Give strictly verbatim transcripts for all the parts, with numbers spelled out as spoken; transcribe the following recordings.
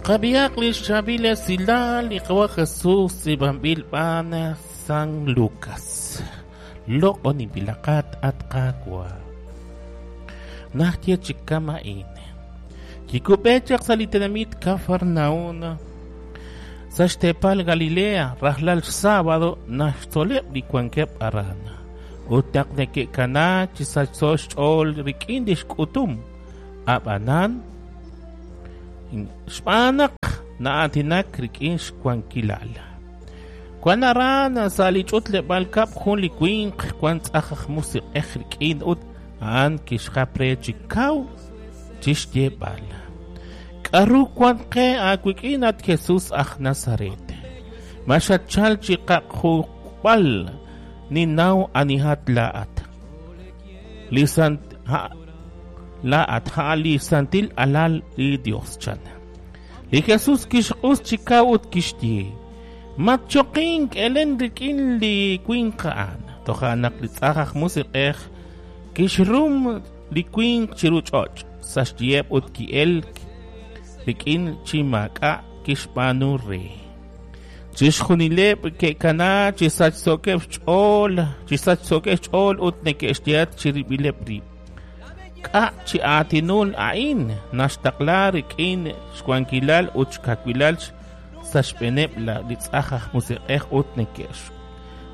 Qab'ihaq li xchaab'il esilal li Qawa' Jesús tz'iib'anb'il b'aan San Lucas. Loq'oninb'ilaqat at Qaawa'. Najye chi kama'in. Kikub'e chaq sa' li tenamit Kafarnaún sa' xteepal Galilea rajlal sábado naxtzoleb' li wankeb' aran. Ut naq neke'kana chi sachso xch'ool rik'in li xk'utum. Ab'anan xb'aan naq na'aatinak rik'in xwankilal. Wan aran sa' li ch'utleb'aal kab' jun li winq wan tz'aj aj musiq'ej rik'in ut a'an kixjap re chi kaw chi xyeeb'al. K'aru wan qe aawik'in at Jesús aj Nazaret? Ma xatchal chi qaq'juk'b'al ninnaw anihat laa'at. Li sant ha laa'at a'an li santil alal li Dios chan. Li Jesús kixq'us chi kaw ut kixye: Matchoqink elen rik'in li winq a'an. Toja' naq li tz'aj aj musiq'ej kixrum li winq chiru ch'och' sa' xyiheb' ut ki'elk rik'in chi maak'a' kixb'aanu re. Chixjunileb' ke'kana chi sachsookeb' xch'ool, chi sachsookeb' xch'ool ut neke'xyehat chirib'ileb' rib'. K'a' chi aatinul a'in naxtaqla rik'in xwankilal ut xkawilal sa' xb'eeneb' li tz'aj aj musiq'ej ut neke'x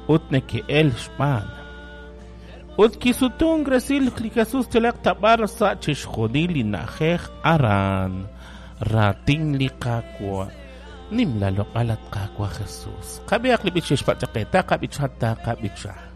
ut neke'el xb'aan. Ut kisutunk resil li Jesús yalaq ta b'ar sa' chixjunil li na'ajej aran. Raatin li Qaawa'. Nimla loq'al at Qaawa' Jesús. Qab'ihaq li b'ich xixpatz' qe, taqab'icha, taqab'icha.